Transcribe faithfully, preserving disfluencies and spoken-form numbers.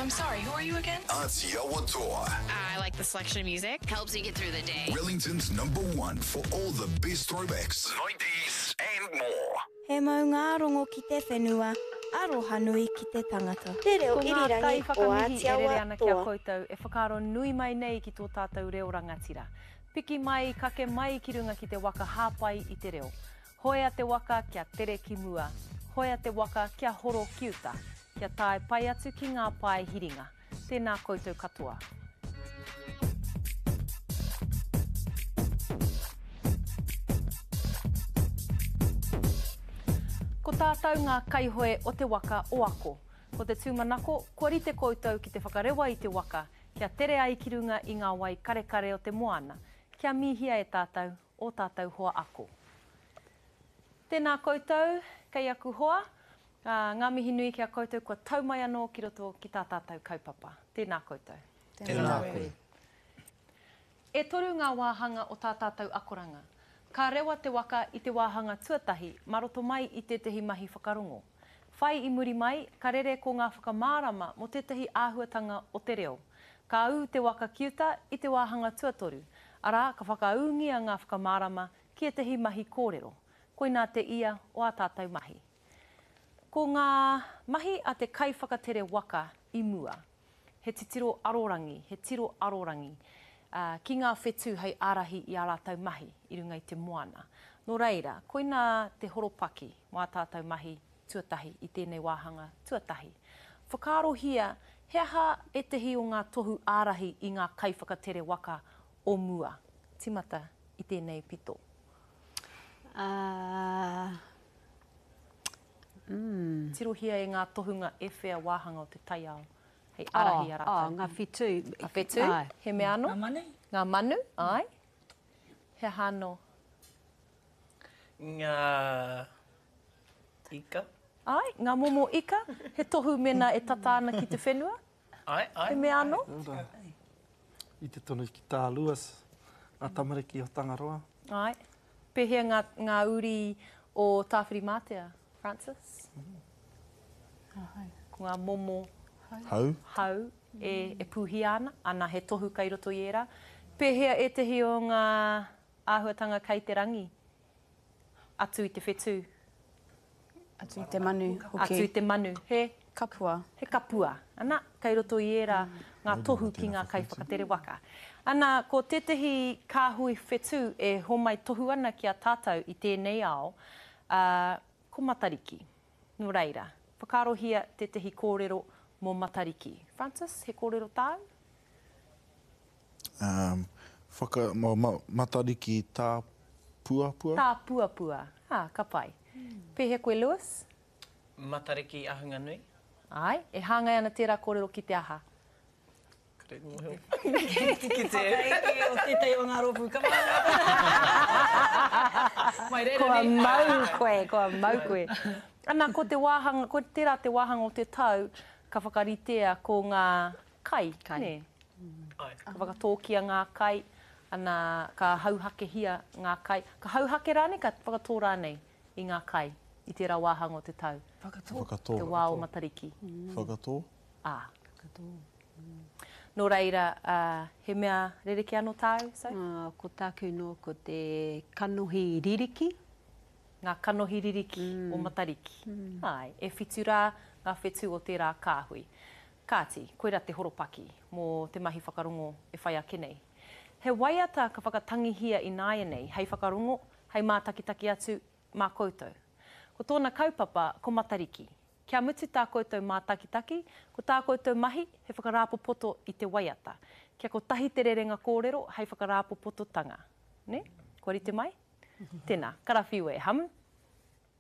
I'm sorry, who are you again? Atiawa Toa. I like the selection of music. Helps you get through the day. Wellington's number one for all the best throwbacks, nineties and more. He maungārongo ki te whenua, aroha nui ki te tangata. Te reo Ko ngā irirangi o kaiwhakamihi e rere Ātiawa ana ki a Toa. koutou e whakaaro nui mai nei ki tō tātou reo rangatira. Piki mai, kake mai ki runga ki te waka hāpai i te reo. Hoea te waka kia tere ki mua. Hoea te waka kia horo ki uta. Kia tae pai atu ki ngā pae hiringa. Tēnā koutou katoa. Ko tātou ngā kaihoe o te waka o ako. Ko te tūmanako, kua rite koutou ki te whakarewa i te waka, kia tere ai ki runga i ngā wai karekare o te moana, kia mihia e tātou, o tātou hoa ako. Tēnā koutou, kei aku hoa, ā, ngā mihi nui ki a koutou kua tau mai anō ki roto ki tā tātou kaupapa. Tēnā koutou. Tēnā koe. E toru ngā wāhanga o tā tātou akoranga. Ka rewa te waka i te wāhanga tuatahi mā roto mai i tētahi mahi whakarongo. Whai i muri mai, ka rere ko ngā whakamārama mō tētahi āhuatanga o te reo. Ka ū te waka ki uta i te wāhanga tuatoru, arā ka whakaūngia ngā whakamārama ki ētahi mahi kōrero. Koinā te ia o ā tātou mahi. Ko ngā mahi a te kaiwhakatere waka i mua. He titiro arorangi, he tiro arorangi, uh, ki ngā whetū hei ārahi i ā rātou mahi i runga i te moana. Nō reira, koinā te horopaki mō ā tātou mahi tuatahi i tēnei wāhanga tuatahi. Whakaarohia, he aha ētahi o ngā tohu ārahi i ngā kaiwhakatere waka o mua? Timata i tēnei pito. Uh, mm. Tirohia e ngā tohunga e whea wāhanga o te taiao hei ārahi a Oh, rātou. oh, ngā whetū. Ngā whetū, Ai. he mea anō? Ngā manu. Ngā manu, ai. He aha anō? Ngā ika. Ai, ngā momo ika, he tohu mena e tata ana ki te whenua. Ai, ai. He mea anō? I te tonu ki tā Lewis, ngā tamariki o Tangaroa. Ai. Pēhea ngā, ngā uri o Tāwhirimātea, Francis? Ko ngā momo Hau. hau e, e pūhia ana, ana he tohu kei roto i ērā. Pēhea ētahi o ngā āhuatanga kei te rangi? Atu i te whetū. Atu i te manu, hoki. Atu i te manu. He? Kapua. He kapua. Ana, kei roto i ērā ngā tohu ki ngā kaiwhakatere waka. Ana, ko tētahi kāhui whetū e homai tohu ana ki a tātou i tēnei ao, uh, ko Matariki. Nō reira, whakaarohia tētahi kōrero mō Matariki. Francis, he kōrero tāu? Um, whaka, ma, ma, Matariki tā puapua. Tā puapua. Ah, ka pai. Pēhea koe, Lewis? Matariki ahunga nui. Ai, e hāngai ana tērā kōrero ki te aha? Kore mōhio. Ki te... Whakaeke o tētahi o ngā rōpū. Come on! Mai reira Kua nei. mau koe, kua mau koe. Ana, ko te wāhanga, ko tērā te wāhanga o te tau, ka whakaritea ko ngā kai. Kai. Nē? Ai. Ka whakatōkia ngā kai, ana, ka hauhakehia ngā kai. Ka hauhake rānei, ka whakatō rānei i ngā kai i tērā wāhanga o te tau. Whakatō. Whakatō. Te wā o Matariki. Whakatō. Ā. Nō reira, uh, he mea rerekē anō tāu, so? Uh, ko tāku nō ko te kanohi ririki. Ngā kanohi ririki mm. o Matariki. Mm. Ai, e whitu rā ngā whetū o tērā kāhui. Kāti, koira te horopaki mō te mahi whakarongo e whai ake nei. He waiata ka whakatangihia i nāianei hei whakarongo, hei mātakitaki atu mā koutou. Ko tōna kaupapa, ko Matariki. Kia mutu tā koutou mātakitaki, ko tā koutou mahi he whakarāpopoto i te waiata. Kia kotahi te rerenga kōrero hei whakarāpopototanga. Ne? Kua rite mai? Tēnā, karawhiu e ham.